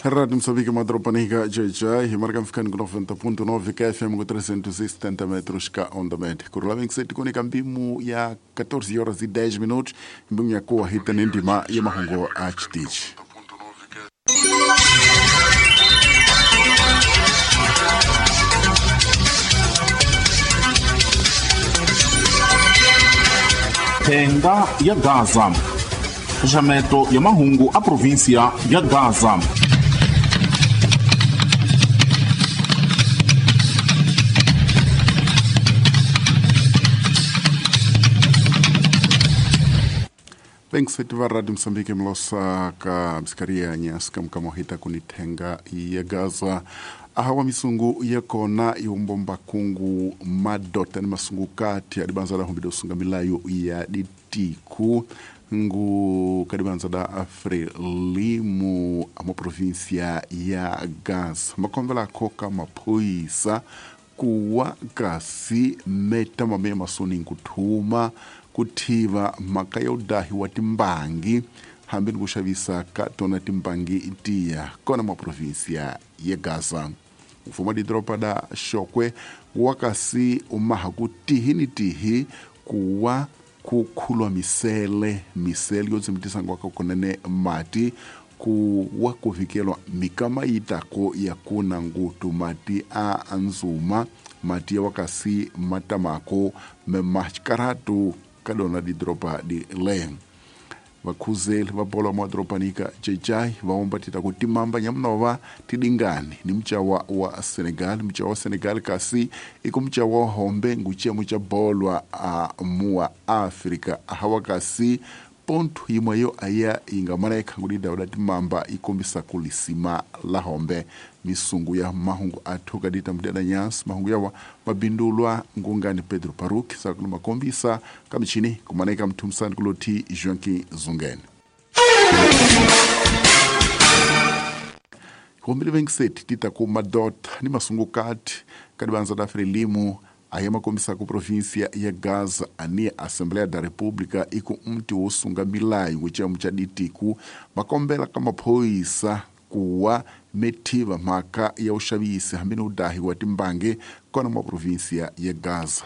Rádio Moçambique, Madropanica, JJ, marca ficando com 90.9 KFM com 370 metros ka onda média. Kurula 27 kunika mbimu ya 14 horas e 10 minutos, mbimu ya kuwa hita nendima ya mahongo a chitichi. Tenda ya Gaza. Xaxameto ya mahungu a província ya Gaza. Bem que va Rádio Moçambique mlosa ka msikaria nyasika mkamohita kunitenga ya Gaza ahawa misungu yakona iumbomba kungu madota ni masungu kati adibanza da humbido sunga milayo ya ditiku ngu kadibanza da Frelimu ama província ya Gaza makombela koka maphoyisa kuwa kasi meta mame masoni nkuthuma kuthiva mhaka ya udahi wa timbangi hambi ni ku xavisa ka tona timbangi tiya kona maprovinsia ya Gaza mfumo wa didoropa da Xokwe wa kasi umaha ku tihi ni tihi kuwa ku khulwa misele misele yo tsemitisa ngwaka kunene mati ku wa ku vikelwa mikama yitako ya kuna ngutu mati a nzuma mati ya wakasi matamako memaxikaratu ka lona didoropa di le vakhuzeli va bolo madoropanika jejai va tita ku timamba nyamunova tidingani ni mucawa wa Senegal mucawa wa Senegal kasi i ku mucawa wa hombe nguciyemu ca bolwa a muwa Afrika ahawa kasi pontu yimwe yo aya yi nga mana ikhangu lidawu la timamba yi kombisa ku lisima la hombe misungu ya mahungu athu kadita mudela nyansi mahungu yawa mabindulwa ngungani Pedro Paruk sakulu makombisa kamichini kumaneka mthumisani kuloti Joaquim Zungene hombile 27 tita ku madota ni masungu kati kadibanza da Frelimu aye makombisa ku província ya Gaza ani Assembleia da República iku mti wo sunga milayo nguciyemu ca ditiku makombela ka maphoyisa kuwa methiva mhaka ya uxavisi hambi ni udahi wa timbangi kona mwa província ya Gaza.